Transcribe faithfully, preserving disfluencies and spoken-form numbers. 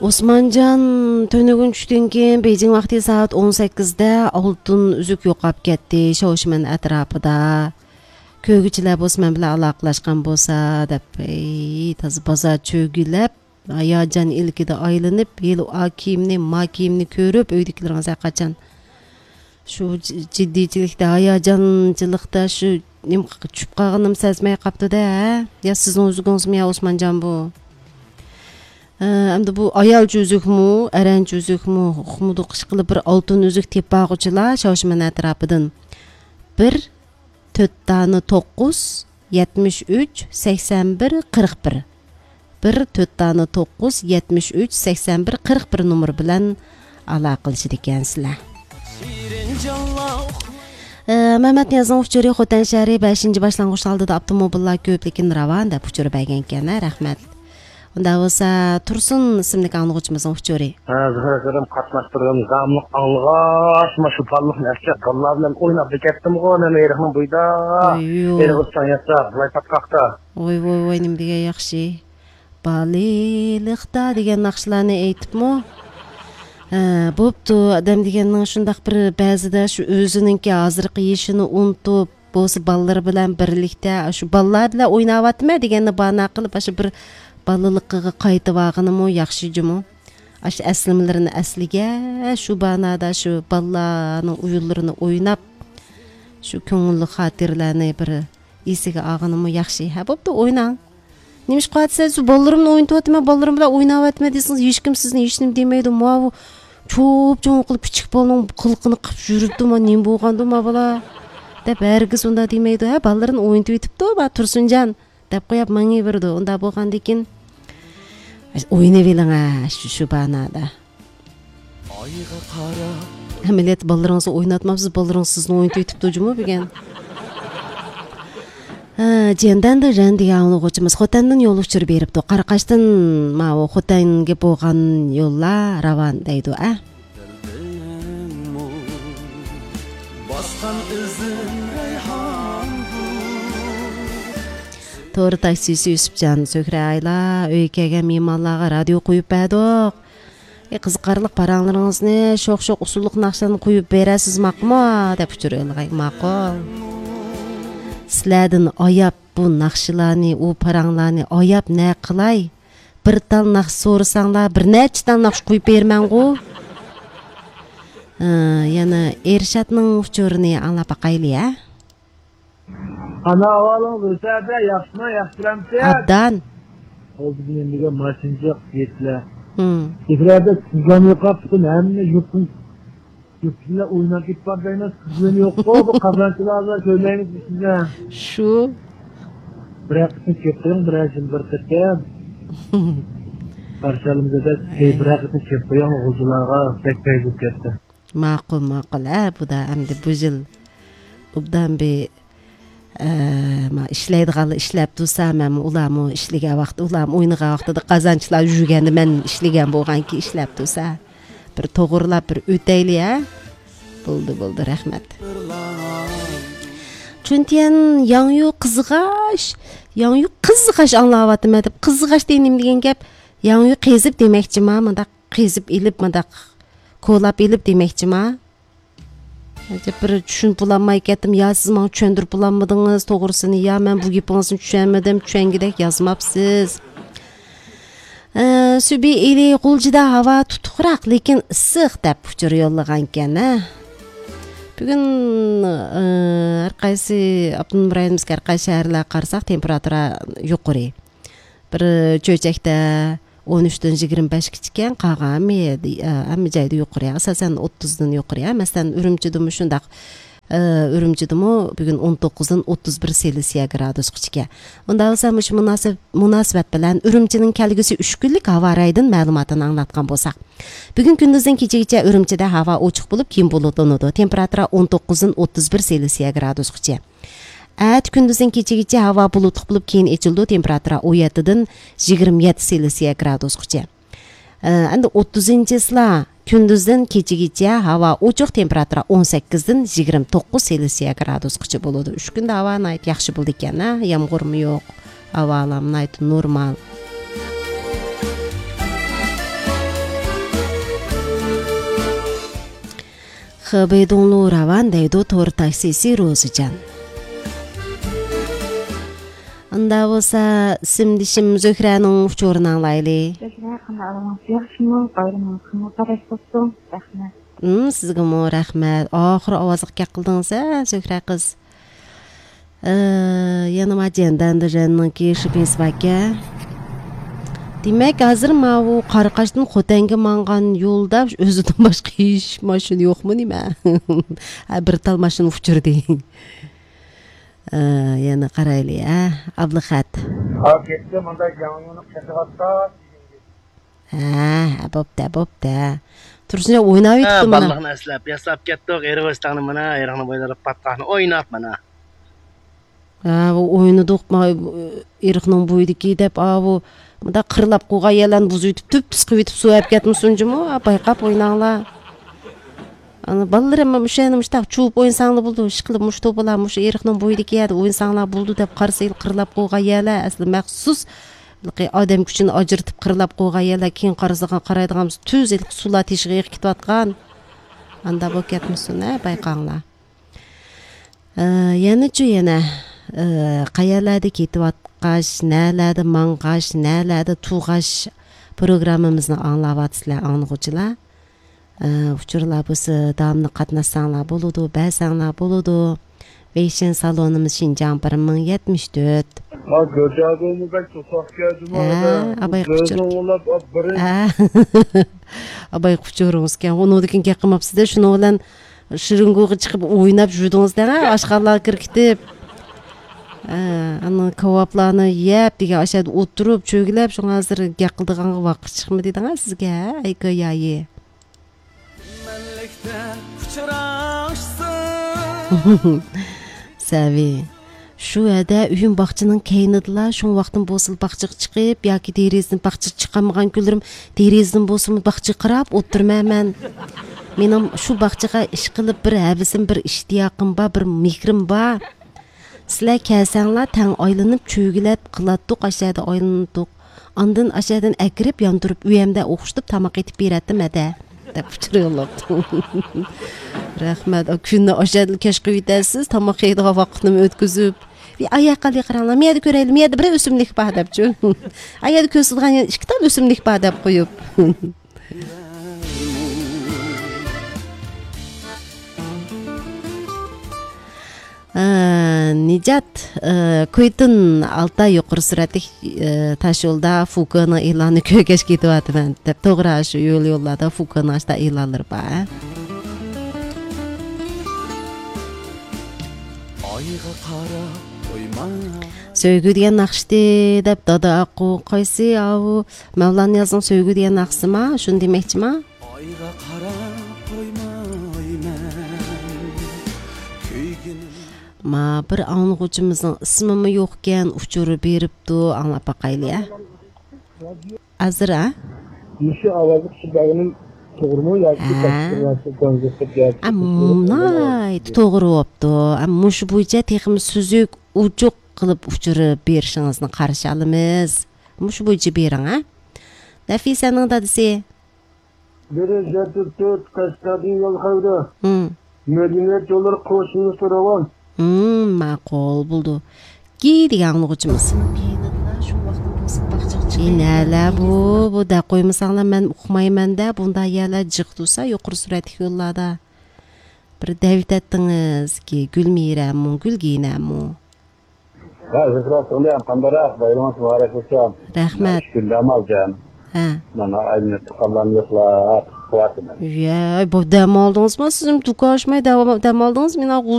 ئوسمانجان، تۈنۈگۈن چۈشتىن كېيىن بېيجىڭ ۋاقتى سائەت ئون سەككىزدە ئالتۇن ئۈزۈك يوقاپ كەتتى، شاۋشىمەن ئەتراپىدا. كۆرگۈچىلەر بولسا مەن بىلەن ئالاقىلەشكەن بولسا دەپ، ئەي، تازا بازار چۆگىلەپ، ھاياجان ئىلكىدە ئايلىنىپ، ھېلى ئا كىيىمنى، ما كىيىمنى كۆرۈپ، ئۆيدىكىلىرىڭىز ھەرقاچان شۇ ج-، جىددىيچىلىكتە، ھاياجانچىلىقتا شۇ نېمە چۈشۈپ قالغىنىمنى سەزمەي قاپتۇ-دە، ھە؟ يا سىزنىڭ ئۆزىڭىزمۇ يا ئوسمانجان بۇ؟ ھە، ئەمدى بۇ ئايالچە ئۈزۈكمۇ، ئەرەنچە ئۈزۈكمۇ، ئۇقمىدۇق، ئىشقىلىپ بىر ئالتۇن ئۈزۈك تېپىپ بارغۇچىلار شاۋشىمەن ئەتراپىدىن بىر تۆت دانە توققۇز، يەتمىش ئۈچ، سەكسەن بىر، قىرىق بىر. بىر تۆت دانە توققۇز، يەتمىش ئۈچ، سەكسەن بىر، قىرىق بىر نومۇر بىلەن ئالاقىلىشىدىكەنسىلەر. ئە، مەمەتنىيازنىڭ ئۇچۇرى، خوتەن شەھىرى بەشىنچى باشلانغۇچ ئالدىدا ئاپتوموبىللار كۆپ، لېكىن راۋان دەپ ئۇچۇر بەرگەنكەن، ھە، رەھمەت. ئۇنداق بولسا، تۇرسۇن ئىسىملىك ئاڭلىغۇچىمىزنىڭ ئۇچۇرى. ھە، زۆھرە ئاكىدىن قاتناشتۇرغىن، داۋاملىق ئاڭلىغاچ، مانا شۇ بالىلىقنى ئەسلەپ، بالىلار بىلەن ئويناپ كەتتىمغۇ، مەن ئېرىقنىڭ بويىدا. ئويۇ. ئېرىق ئۇچان ياساپ، بۇلاي پاتقاقتا. ۋوي، ۋوي، ۋوي، نېمە دېگەن ياخشى. بالىلىقتا دېگەن ناخشىلارنى ئېيتىپمۇ؟ ھە، بوپتۇ، ئادەم دېگەننىڭ شۇنداق بىر بەزىدە شۇ ئۆزىنىڭكى ھازىرقى يېشىنى ئۇنتۇپ، بولسا بالىلىرى بىلەن بىرلىكتە، شۇ بالىلار بىلەن ئويناۋاتىمەن دېگەننى باھانە قىلىپ، ئاشۇ بىر بالىلىقىغا قايتىۋالغىنىمۇ ياخشى جۇمۇ. ئاشۇ ئەسلىمىلىرىنى ئەسلىگەن، شۇ باھانەدە شۇ بالىلارنىڭ ئويۇنلىرىنى ئويناپ، شۇ كۆڭۈللۈك خاتىرىلەرنى بىر ئېسىگە ئالغىنىمۇ ياخشى. ھە، بوپتۇ، ئويناڭ. نېمىشقا دېسە، سىز بالىلىرىمنى ئوينىتىۋاتىمەن، بالىلىرىم بىلەن ئويناۋاتىمەن دېسىڭىز، ھېچكىم سىزنى ھېچنېمە دېمەيدۇ. ماۋۇ چوپ-چوڭ قىلىپ كىچىك بالىنىڭ قىلىقىنى قىلىپ يۈرۈپتۇ، ما نېمە بولغاندۇ ما بالا دەپ ھەرگىز ئۇنداق دېمەيدۇ. ھە، بالىلىرىنى ئوينىتىۋېتىپتۇ، ما تۇرسۇنجان دەپ قويۇپ مېڭىۋېرىدۇ. ئۇنداق بولغاندىكىن، ئوينىۋېلىڭ، ھە، شۇ، شۇ باھانەدە. ئەمەلىيەتتە بالىلىرىڭىزنى ئويناتمامسىز، بالىلىرىڭىز سىزنى ئوينىتىۋېتىپتۇ جۇمۇ بۈگۈن. ھە، جيەندەندە رەن دېگەن ئاڭلىغۇچىمىز خوتەندىن يول ئۇچۇرى بېرىپتۇ. قاراقاشتىن ماۋۇ خوتەنگە بولغان يوللار راۋان دەيدۇ، ئە. باسقان ئىزىم رەيھان. تور تاكسىسى يۈسۈپجان، سۆھرە ئايلا، ئۆيگە كەلگەن مېھمانلارغا رادىيو قويۇپ بەردۇق. ئى، قىزىقارلىق پاراڭلىرىڭىزنى، شوخ-شوخ ئۇسسۇللۇق ناخشىلارنى قويۇپ بېرەرسىز، ماقۇلمۇ؟ دەپ ئۇچۇر يوللىغان. ماقۇل. سىلەردىن ئاياپ بۇ ناخشىلارنى، ئۇ پاراڭلارنى ئاياپ نە قىلاي؟ بىر تال ناخشا سورىساڭلار، بىر نەچچە تال ناخشا قويۇپ بېرىمەنغۇ. ھە، يەنە ئېرشاتنىڭ ئۇچۇرىنى ئاڭلاپ باقايلى، ھە؟ ئانا، ئەھۋالىڭىز ئۆسەدە، ياخشىمۇ، ياخشى بىلەمسىز؟ ئابدان. ئالدى بىلەن دېگەن ماشىنىچە يەتتىلەر. ھىم. سېفرەدە سىزگەن يوقاپ، پۈتۈن ھەممە يۇرتتىن، يۇرتتىكىلەر ئويناپ كېتىپ بار دەيمىز، سىزگەن يوققۇ، بۇ قازانچىلاردا كۆرمەيمىز بىز سىزنى. شۇ. بىرەر قېتىم كېلىپ قويۇڭ، بىرەر يىل بىر قېتىم. قارشى ئالىمىز دەپ، ئەي. بىرەر قېتىم كېلىپ قويۇڭ، غۇلجىلارغا بەك پەيزى كەتتى. ماقۇل، ماقۇل. ھە، بۇ دا ئەمدى بۇ يىل ئوبدان بىر، ئە، ما ئىشلەيدىغانلار ئىشلەپ تۇرسا، مەنمۇ ئۇلارمۇ ئىشلىگەن ۋاقىت، ئۇلارمۇ ئوينىغان ۋاقتىدا قازانچلار يۈرگەندە مەن ئىشلىگەن بولغانكى ئىشلەپ تۇرسا، بىر توغرىلاپ بىر ئۆتەيلى، ھە؟ بولدى، بولدى، رەھمەت. چۈنتيەن ياڭيۇ قىزغاچ، ياڭيۇ قىزغاچ ئاڭلاۋاتىمەن دەپ، قىزغاچ دېگەن نېمە دېگەن گەپ؟ ياڭيۇ قېزىپ دېمەكچىما، مۇنداق قېزىپ ئېلىپ، مۇنداق كولاپ ئېلىپ دېمەكچىما؟ ئەجەب بىر چۈشىنىپ بولالماي كەتتىم. يا سىز ماڭا چۈشەندۈرۈپ بولالمىدىڭىز توغرىسىنى، يا مەن بۇ گېپىڭىزنى چۈشەنمىدىم، چۈشەنگۈدەك يازماپسىز. ئە، سۈبى ئېلى غۇلجىدا ھاۋا تۇتۇقراق، لېكىن ئىسسىق دەپ ئۇچۇر يوللىغانىكەن، ھە. بۈگۈن، ئە، ھەر قايسى ئاپتونوم رايونىمىزدىكى ھەر قايسى شەھەرلەرگە قارىساق، تېمپېراتۇرا يۇقىرى. بىر چۆچەكتە ئون ئۈچتىن يىگىرمە بەشكىچىكەن، قالغان ھەممە يەردە، ھەممە جايدا يۇقىرى، ئاساسەن ئوتتۇزدىن يۇقىرى. مەسىلەن، ئۈرۈمچىدىمۇ شۇنداق، ئۈرۈمچىدىمۇ بۈگۈن ئون توققۇزدىن ئوتتۇز بىر سېلسىيە گرادۇسقىچىكەن. ئۇنداق بولسا، مۇشۇ مۇناسىپ-، مۇناسىۋەت بىلەن ئۈرۈمچىنىڭ كەلگۈسى ئۈچ كۈنلۈك ھاۋا رايىدىن مەلۇماتىنى ئاڭلاتقان بولساق، بۈگۈن كۈندۈزدىن كېچىگىچە ئۈرۈمچىدە ھاۋا ئوچۇق بولۇپ، كېيىن بۇلۇتلىنىدۇ. تېمپېراتۇرا ئون توققۇزدىن ئوتتۇز بىر سېلسىيە گرادۇسقىچە. ئەتە كۈندۈزدىن كېچىگىچە ھاۋا بۇلۇتلۇق بولۇپ، كېيىن ئېچىلىدۇ، تېمپېراتۇرا ئون يەتتىدىن يىگىرمە يەتتە سېلسىيە گرادۇسقىچە. ئە، ئەمدى ئوتتۇزىنچىسىلا كۈندۈزدىن كېچىگىچە ھاۋا ئوچۇق، تېمپېراتۇرا ئون سەككىزدىن يىگىرمە توققۇز سېلسىيە گرادۇسقىچە بولىدۇ. ئۈچ كۈندە ھاۋا ناھايىتى ياخشى بولىدىكەن، ھە، يامغۇرمۇ يوق، ھاۋالام ناھايىتى نورمال. خېبېيدۇڭلۇ راۋان دەيدۇ تور تاكسىسى روزىجان. ئاندا بولسا، ئىسىمدىشىم زۆھرەنىڭ ئۇچۇرىنى ئاڭلايلى. زۆھرە، قانداق ئەھۋالىڭىز؟ ياخشىمۇ؟ بايرىمىڭىز قانداق؟ مۇبارەك بولسۇن. رەھمەت. ھىم، سىزگىمۇ رەھمەت. ئاخىرى ئاۋازلىق گەپ قىلدىڭىز ھە، زۆھرە قىز. ئى، يەنە ما جەندەندىرەننىڭكى شىپىنسى باركەن. دېمەك، ھازىر ماۋۇ قاراقاشتىن خوتەنگە ماڭغان يولدا ئۆزىدىن باشقا ھېچ ماشىنا يوقمۇ نېمە؟ ھە، بىر تال ماشىنا ئۇچرىدى. ئى، يەنە قارايلى، ھە، ئابلىخەت. ھا، كەچتە مۇنداق ياڭيۇنۇپ چېقىۋاتقان. ھە، بوپتە، بوپتە. تۇرسۇنجان ھە، ئويناۋېتىپتۇ مانا. بالىلىقنى ئەسلەپ، ياساپ كەتتۇق، ئېرىق ئۆستەڭنى مانا، ئېرىقنى بويلىرىپ پاتقاقنى ئويناپ مانا. ھە، ئۇ ئوينىدۇق، ما، ئېرىقنىڭ بويىدىكى دەپ، ئاۋۇ، مۇنداق قىرلاپ قويغان يەرلەرنى بۇزۇۋېتىپ، تۈپ-تۈز قىلىۋېتىپ سۇ ئەپ كەتمىسۇن جۇمۇ، ھە، بايقاپ ئويناڭلار. ئانا بالىلىرىم مۇشۇ يەرنى مۇشۇنداق چۇۋۇپ ئوينىساڭلار بولىدۇ، ئىشقىلىپ مۇشۇ توپىلار مۇشۇ ئېرىقنىڭ بويىدىكى يەردە ئوينىساڭلار بولىدۇ دەپ قارىسا، قىرلاپ قويغان يەرلەر ئەسلى مەخسۇس ئادەم كۈچىنى ئاجرىتىپ قىرلاپ قويغان يەرلەر، كېيىن قارىسىغان، قارايدىغان تۈز ھېلىقى سۇلار تېشىغا ئېقىپ كېتىۋاتقان. ئاندا بولۇپ كەتمىسۇن، ھە، بايقاڭلار. ئە، يەنىچۇ يەنە، ئە، قەيەرلەردە كېتىۋاتقاچ، نەلەردە ماڭغاچ، نەلەردە تۇرغاچ پروگراممىمىزنى ئاڭلاۋاتىسىلەر، ئاڭلىغۇچىلار. ئە، ئۇچۇرلار بولسا داۋاملىق قاتناشساڭلار بولىدۇ، بەرسەڭلار بولىدۇ. ۋېيشىن سالونىمىز شىنجاڭ بىر مىڭ يەتمىش تۆت. ھا، گۆجاگۇمۇ بەك توساق كەلدىمۇ ھە، ئادا. ئاباي قۇچۇر. ئوڭلاپ ئاپ بىرىن. ھە. ئاباي قۇچۇرىڭىزكەن. ئۇنىڭدىن كېيىن گەپ قىلماپسىز-دە، شۇنىڭ بىلەن شىرىنگوغا چىقىپ ئويناپ يۈردىڭىز-دە، ئاشخانىلارغا كىرىپ كېتىپ. ھە، ئانا كاۋاپلارنى يەپ، دېگەن ئاشۇ يەردە ئولتۇرۇپ، چۆگىلەپ، شۇڭا ھازىر گەپ قىلىدىغانغا ۋاقىت چىقمىدى دەڭە سىزگە، ھە؟ ئەي گايايى. مەنلىكتە ئۇچراشسا. سەۋى. شۇ ھەدە ئۆيۈم باغچىنىڭ كەينىدىلا، شۇڭ ۋاقتىم بولسىلا باغچىغا چىقىپ ياكى دېرىزىدىن باغچىغا چىقالمىغان كۈنلىرىم دېرىزىدىن بولسىمۇ باغچىغا قاراپ ئولتۇرىمەن مەن. مېنىڭ شۇ باغچىغا ئىشقىلىپ بىر ھەۋىسىم، بىر ئىشتىياقىم بار، بىر مېھرىم بار. سىلەر كەلسەڭلار تەڭ ئايلىنىپ چۆگىلەپ قىلاتتۇق، ئاشەدە ئايلىناتتۇق. ئاندىن ئاشەدىن ئەكىرىپ ياندۇرۇپ ئۆيەمدە ئوخشىتىپ تاماق ئېتىپ بېرەتتىم ھەدە. دەپ ئۇچۇر يوللاپتۇ. رەھمەت. ئا، كۈننى ئاشەدىلا كەچ قىلىۋېتەسىز، تاماق يەيدىغان ۋاقىتنىمۇ ئۆتكۈزۈپ. ئاياققا قاراڭلار، مۇ يەردە كۆرەيلى، مۇ يەردە بىر ئۆسۈملۈك بار دەپچۇ. ئا يەردە كۆرسىتىدىغان يەنە ئىككى تال ئۆسۈملۈك بار دەپ قويۇپ. ئە، نىجات، ئە، كۇيتۇن ئالتاي يۇقىرى سۈرئەتلىك، ئە، تاشيولدا فۇكېنىڭ ئېلانىنى كۆرگەچ كېتىۋاتىمەن دەپ، توغرا، شۇ يول يوللاردا فۇكېنىڭ ئاشۇنداق ئېلانلىرى بار. ئايغا قاراپ قويما. سۆيگۈ دېگەن ناخشىتى دەپ دادا ئاققۇ قايسى ئاۋۇ مەۋلان نىيازنىڭ سۆيگۈ دېگەن ناخشىسىما؟ شۇنى دېمەكچىما؟ ئايغا قاراپ قويمايمەن كۆيگىنىم. ما بىر ئاڭلىغۇچىمىزنىڭ ئىسمىمۇ يوقكەن، ئۇچۇر بېرىپتۇ، ئاڭلاپ باقايلى، ھە؟ ھازىر، ھە؟ مۇشۇ ئاۋازلىق شۇ بەرگىنىم توغرىمۇ ياكى ھە. باشقا نەرسە كونجېكتىر ياكى ئە، ناھايىتى توغرا بوپتۇ. ئە، مۇشۇ بويىچە تېخىمۇ سۈزۈك، ئوچۇق قىلىپ ئۇچۇر بېرىشىڭىزنى قارشى ئالىمىز. مۇشۇ بويىچە بېرىڭ، ھە؟ نەفىسەنىڭ دادىسى. بىرى زەتتە تۆت، قەشقەردىن يول خەۋىرى. ھىم. مەدەنىيەت يوللىرى قوشۇنلۇقتا راۋان. ھىم، ماقۇل بولدى. گى دېگەن ئاڭلىغۇچىمىز. ئى، نەلەر بۇ، بۇ دەپ قويمىساڭلار، مەن ئۇقمايمەن-دە، بۇنداق يەرلەر جىق تۇرسا، يۇقىرى سۈرئەتلىك يوللاردا. بىر دەۋېتەتتىڭىز كى، گۈلمىرەمۇ، گۈلگىنەمۇ. ھە، زۇھرا سىڭلىم، قانداقراق؟ بايرىمىڭىز مۇبارەك بولسۇن. رەھمەت. شۈكۈر، دەم ئالدىم. ھە. مانا ئايلىنىپ تۇغقانلارنى يوقلاپ قىلىۋاتىمەن. يە، بۇ دەم ئالدىڭىزمۇ؟ سىزمۇ دۇكان ئاچماي دەم، دەم ئالدىڭىز؟ مېنىڭ